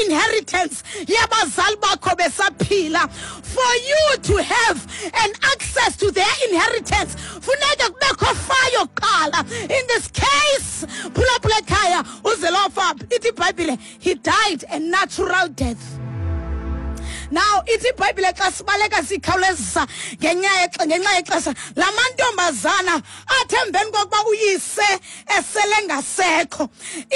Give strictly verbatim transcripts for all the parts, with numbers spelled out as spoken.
i-inheritance yabazali bakho besaphila. For you to have an access to their inheritance, funeka kubekho fayo kuqala. In this case, phulaphula ekhaya, uZelofab, ithi iBhayibhile, he died a natural death. Now ithi iBhayibhile xa sibaleka sikhawulezisa ngenxa yexesha, la mantombazana athi emveni kokuba uyise esele ngasekho,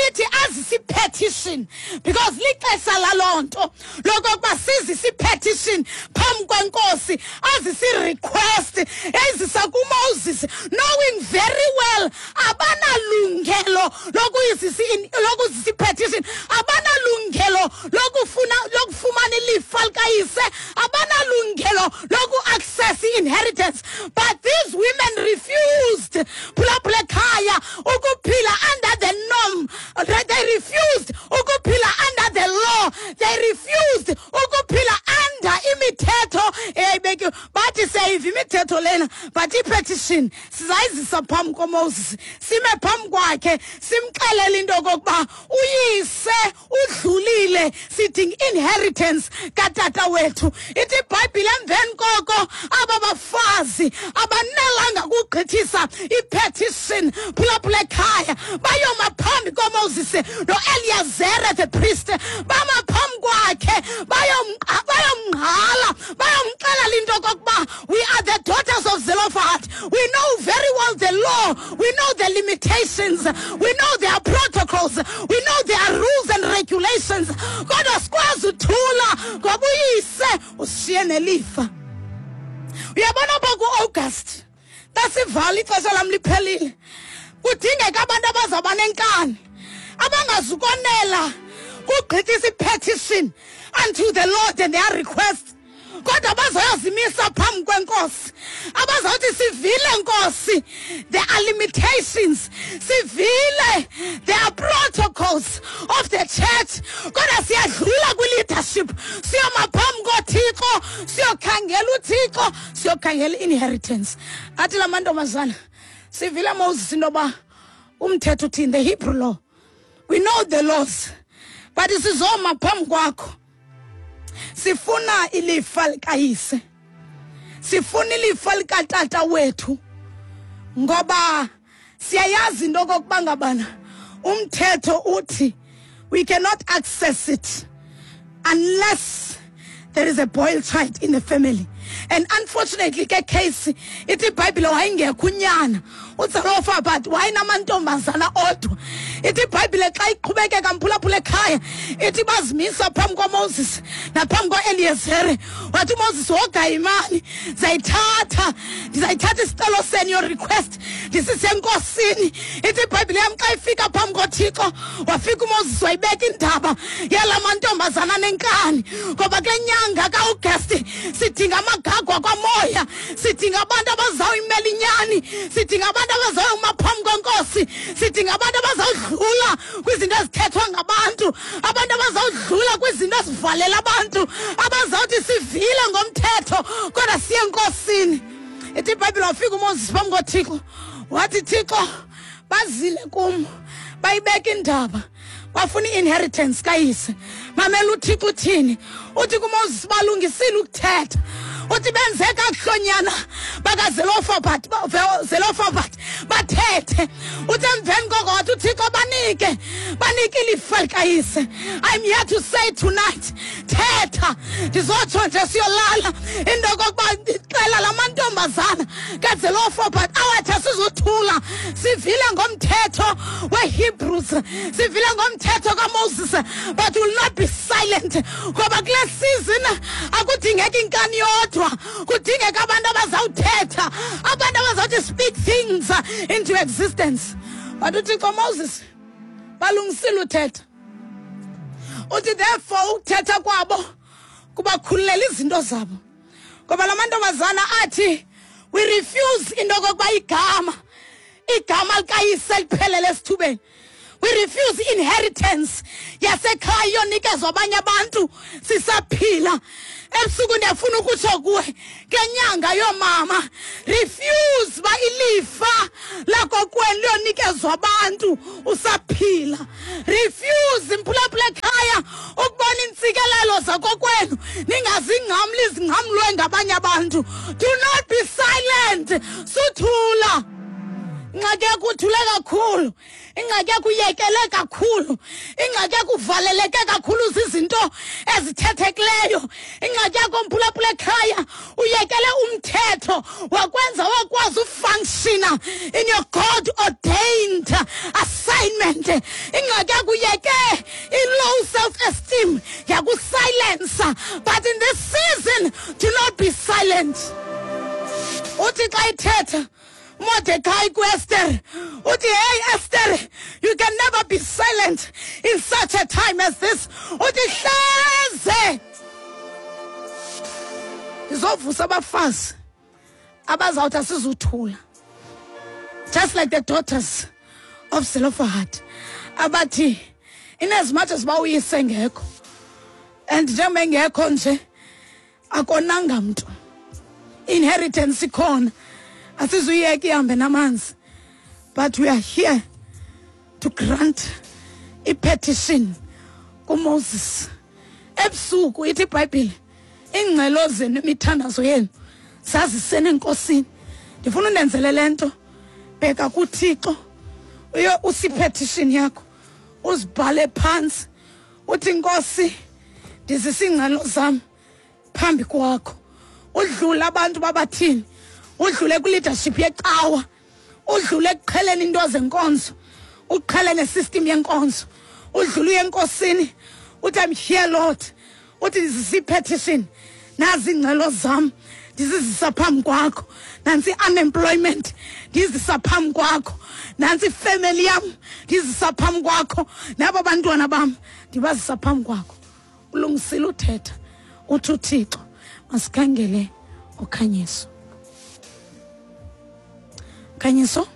ithi azise i-petition, because lixesha laloo nto lokokuba sizise i-petition phambi kwenkosi, azise i-request eyizisa kuMoses, knowing very well abanalungelo lokuyizisa lokuzisa i-petition, abanalungelo lokufuna lokufumana ilifa likayise, abanalungelo loku-access i-inheritance. But these women refused, phulaphula ekhaya, ukuphila under the norm. They refused ukuphila under the law. They refused ukuphila under imithetho eyayibekiwe. Bathi siyayiva imithetho lena, but i-petition sizayizisa phambi koMoses, sime phambi kwakhe, simxelele into okokuba uyise udlulile, sidinga inheritance katata wethu. Ithi iBhayibhile emveni koko aba bafazi abanelanga kugqithisa i-petition, phulaphula ekhaya, bayoma phambi koMoses noEliyazere the priest, bama phambi kwakhe, bayomngqala, bayomxelela into okokuba we are the daughters of Zelophehad. We know very well the law, we know the limitations, we know their protocols, we know their rules and regulations. Kodwa sikwazi uthula ngoba uyise ushiye nelifa. Uyabona apha ku-August, xa sivala ixesha lam liphelile, kudingeka abantu abazawuba nenkani, abangazukonela kugqithisa i-petition unto the Lord and their request, kodwa bazoyozimisa phambi kwenkosi, abazawuthi sivile nkosi, there are limitations, sivile there are protocols of the church, kodwa siyadlula kwi-leadership, siyoma phambi koThixo, siyokhangela uThixo, siyokhangela i-inheritance. Athi la mantombazana, sivile Moses into yoba umthetho uthini, the Hebrew law, we know the laws, but sizoma phambi kwakho, sifuna ilifa likayise, sifuna ilifa likatata wethu, ngoba siyayazi into okokuba ngabana umthetho uthi we cannot access it unless there is a boy child in the family. And unfortunately ke case ithi iBhayibhile wayengekho unyana uZelofabad, wayenamantombazana odwa. Ithi iBhayibhile xa iqhubekeka mphulaphula ekhaya, ithi bazimisa phambi kwaMoses naphambi kwa-Eliyezere. Wathi uMoses, woga imali, ndizayithatha ndizayithatha isicelo senu, your request, ndisise enkosini. Ithi iBhayibhile yam xa ifika phambi koThixo, wafika uMoses wayibeka indaba yala mantombazana nenkani, ngoba kule nyanga ka-August sidinga amagagwa kwamoya, sidinga abantu abazawuyimela inyani, sidinga abantu abazawuma phambi kwenkosi, sidinga abantu abazawudlula kwizinto ezithethwa ngabantu, abantu abazawudlula kwizinto ezivalela abantu, abazawuthi sivile ngomthetho kodwa siye enkosini. Ithi iBhayibhile wafika uMoses phambi koThixo, wathi Thixo, bazile kum, bayibeka indaba, bafuna i-inheritance kayise. Mamela uThixo uthini, uthi kuMoses balungisile ukuthetha, uthi benze kakuhlonyana bakaZelofabad, Zelofabad bathethe. Uthi emveni koko wathi uThixo banike, banike ilifa likayise. I'm here to say tonight, thetha, ndizotsho nje siyolala into okokuba ndixela la mantombazana kaZelofabad awathi asizuthula, sivile ngomthetho weHebrews, sivile ngomthetho kaMoses, but will not be silent, ngoba kule season akudingeki inkani yodwa, kudingeka abantu abazawuthetha, abantu abazawuthi speak things into existence. But uThixo Moses balungisile uthetha, uthi therefore ukuthetha kwabo kubakhululela izinto zabo, ngoba la mantombazana athi we refuse into okokuba igama igama likayise liphelele esithubeni. We refuse inheritance yasekhaya yonikezwa abanye abantu sisaphila. Ebusuku ndiyafuna ukutsho kuwe ngenyanga yoomama, refuse ba ilifa lakokwenu liyonikezwa abantu usaphila. Refuse mphulaphula ekhaya ukubona abanye abantu. Do not be silent. Suthula. Ingxaki yakho uthule kakhulu, ingxaki yakho uyekele kakhulu, ingxaki yakho uvaleleke kakhulu zizinto ezithethekileyo, ingxaki yakho mphulaphula ekhaya uyekele umthetho wakwenza wakwazi ufunctiona in your God ordained assignment. Ingxaki yakho uyeke i-low self-esteem yakusilensa, but in this season do not be silent. Uthi xa ithetha Mordecai ku Esther, uthi, hey Esther, you can never be silent in such a time as this. Uthi hleze ndizovusa abafazi abazawuthi asizuthula, just like the daughters of Zelophehad, abathi in as much as bawuyise ngekho and njengoba engekho nje akonanga mntu, inheritance ikhona, asizuyeke ihambe namanzi, but we are here to grant i-petition kuMoses. Ebusuku ithi iBhayibhile, iingcelo zenu imithandazo yenu zazisene enkosini. Ndifuna undenzele le nto, bheka kuThixo, uye usipetition yakho uzibhale phantsi, uthi Nkosi ndizisa iingcelo zam phambi kwakho. Udlule abantu babathini, udlule kwi-leadership yecawa, udlule ekuqheleni into zenkonzo, uqhele nesystem yenkonzo, udlule uye enkosini uthi I'm here Lord, uthi ndizisa i-petition, nazi iingcelo zam ndizizisa phambi kwakho, nantsi i-unemployment ndizisa phambi kwakho, nantsi ifemeli yam ndizisa phambi kwakho, naba bantwana bam ndibazisa phambi kwakho. Ulungisile uthetha, uthi uThixo masikhangele ukhanyiso. Khanyiso.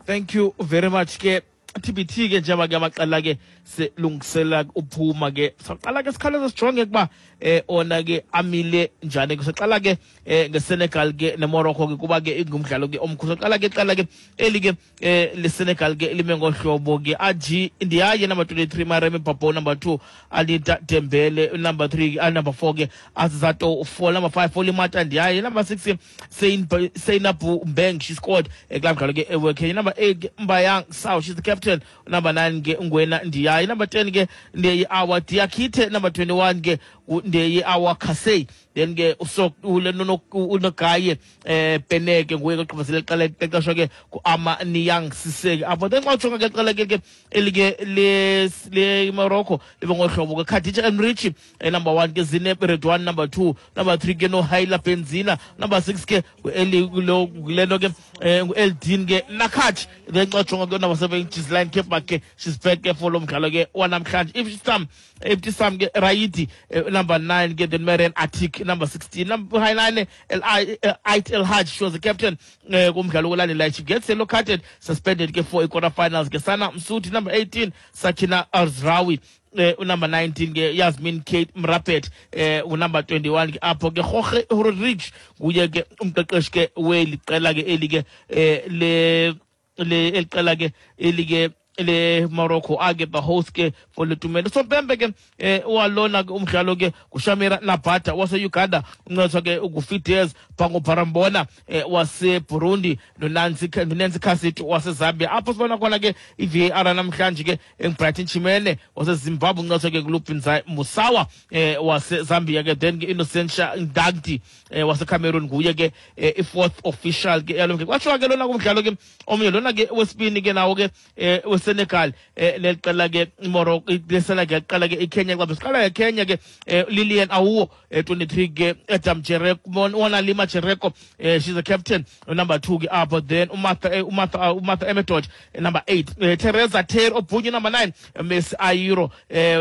Thank you very much ke T B T ke njengoba ke amaqela ke selungisela uphuma ke saqala ke sikhaleza sijonge kuba eh ona ke amile njani ke saqala ke ngeSenegal ke neMorocco ke kuba ke ingumdlalo ke omkhulu. Saqala ke qala ke eli ke leSenegal ke lime ngohlobo ke Aji Ndiaye number twenty-three, Mareme Babo number two, Alida Dembele number three, number four ke Azato four, number five Olimata Ndiaye, number six Seinabu Mbeng, she scored ekulaa ke eWekenya, number eight Mbayang Sao, she's the captain, number nine ke Ngwena Ndiaye, number ten ke Ndeye Awa Diakite, number twenty-one ke Ndeye Awa Kasei, then ke usok unogaye eh Peneke nguye oqhubezele iqela iqeqeshwa ke kuAma Niang Siseke apho. Then xa ujonga ke iqela ke elike le le Morocco libe ngohlobo ke Khadija Enrichi number one ke Zineb Redwan number two, number three ke Nohaila Benzina, number six ke eli lento ke Eldin ke Nakach, then xa ujonga ke number seven Gisline Kepa ke she's back ke for lo mdlalo ke wanamhlanje. Ibtisam Ibtisam ke Raidi number nine ke then Marian Atik number sixteen, number nine El Ait El Haj, she was the captain kumdlalo olandelayo, she gets yellow carded, suspended ke for quarter finals ke Sana Msuti, number eighteen Sakina Azrawi, Uh, number nineteen ke Yasmin Kate Mrapet, uh, number twenty-one ke apho ke Jorge Rodriguez nguye ke umqeqeshi ke weli qela ke eli ke le le eliqela ke eli ke le Morocco ake the host ke for le tumelo. So Pembe ke eh walona ke umdlalo ke kuShamira Nabata wase Uganda, uncedwa ke uGufides Bango Barambona wase Burundi, noNancy noNancy Kasito wase Zambia. Apho sibona khona ke i-V A R namhlanje ke engiBrighton Chimene wase Zimbabwe, uncedwa ke kuLupinzai Musawa eh wase Zambia ke, then ke Innocentia Ndagdi wase Cameroon nguye ke i-fourth official ke yalo. Kwatsho ke lona kumdlalo ke omnye lona ke wesibini ke nawo ke Senegal leliqela ke Morocco, leSenegal qala ke iKenya, xa siqala ngeKenya ke Lilian Awuo twenty-three ke Adam Jereko, Wona Lima Jereko, she's the captain, number two ke apho, then uMartha uMartha uMartha Emedot number eight, Teresa Ter Obunye number nine, Miss Ayiro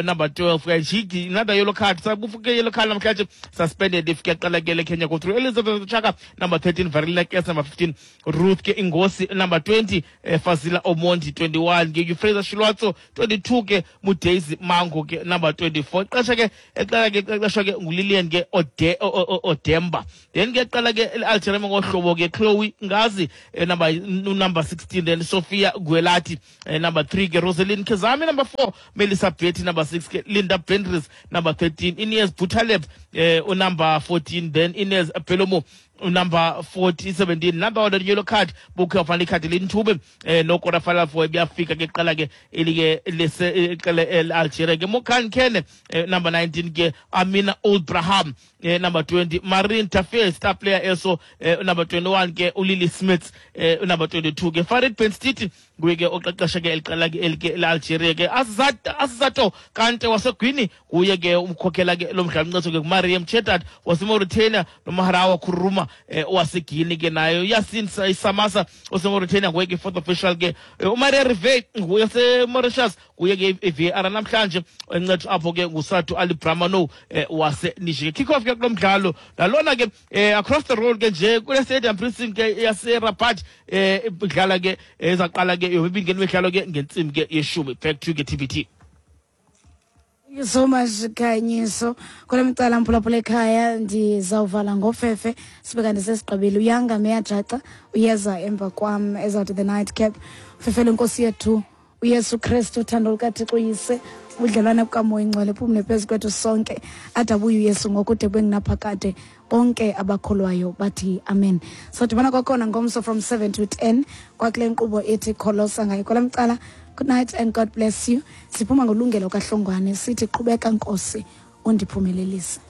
number twelve, Jigi another yellow card, sabufuke yellow card namhlanje suspended if ke qala ke leKenya go through Elizabeth Chaka number thirteen, Varela Kes number fifteen, Ruth ke Ingosi number twenty, Fazila Omondi twenty-one ke Euphrasia Shilwatso, twenty-two ke Mudaisy Mango ke number twenty-four. Ixesha ke eqala ke ixesha ke nguLilian ke Ode Odemba. Then ke qala ke Algeria ngohlobo ke Chloe Ngazi number number sixteen, then Sophia Guelati number three ke Rosaline Kezami number four, Melissa Betty number six ke Linda Bendris number thirteen, Inez Butaleb eh, number fourteen, then Inez Pelomo number forty seventeen. Number one yellow card bukhe wafana ikhadi lintube eh no quarter final four ebiyafika ke qala ke elike lese iqele Algeria ke Mokan Kene number nineteen ke Amina Old-Braham eh, number twenty Marine Tafe star player eso eh, number twenty-one ke uLily Smith eh, number twenty-two ke Farid Benstiti nguye ke oqeqesha ke eliqela ke elike Algeria ke Azat Azato Kante waseGuinea nguye ke umkhokhela ke lo mdlalo mncetho ke Mariam Chetat waseMauritania noMaharawa Kuruma eh, waseGuinea ke nayo Yasin Samasa waseMauritania nguye ke fourth official ke uMaria Rive nguye waseMauritius nguye ke I V A R namhlanje encetho apho ke nguSatu Ali Bramano eh, waseNiger. Kick off ke kulo mdlalo nalona ke eh, across the road ke nje kule stadium precinct ke yaseRabat eh idlala ke ezaqala ke yomibini imidlalo ke ngentsimbi ke yeshumi. Back to ke T B T. Thank you so much Khanyiso. Kule micala mphulaphula ekhaya ndizawuvala ngofefe sibe kanti sesigqibile. Uyanga meyajaca uyeza emva kwam ezawuthi the night cap. Fefele Nkosi yethu uYesu Kristu, uthando lukaThixo uyise, ubudlelwane bukaMoya Ingcwele phumle phezu kwethu sonke. Adabuye uYesu ngokude bengunaphakade. Bonke abakholwayo bathi amen. So dibana kwakhona ngomso from seven to ten kwakule nkqubo ethi Kholosa ngayo. Kwala mcala, good night and God bless you. Siphuma ngolungelo kaHlongwane sithi qhubeka Nkosi undiphumelelise.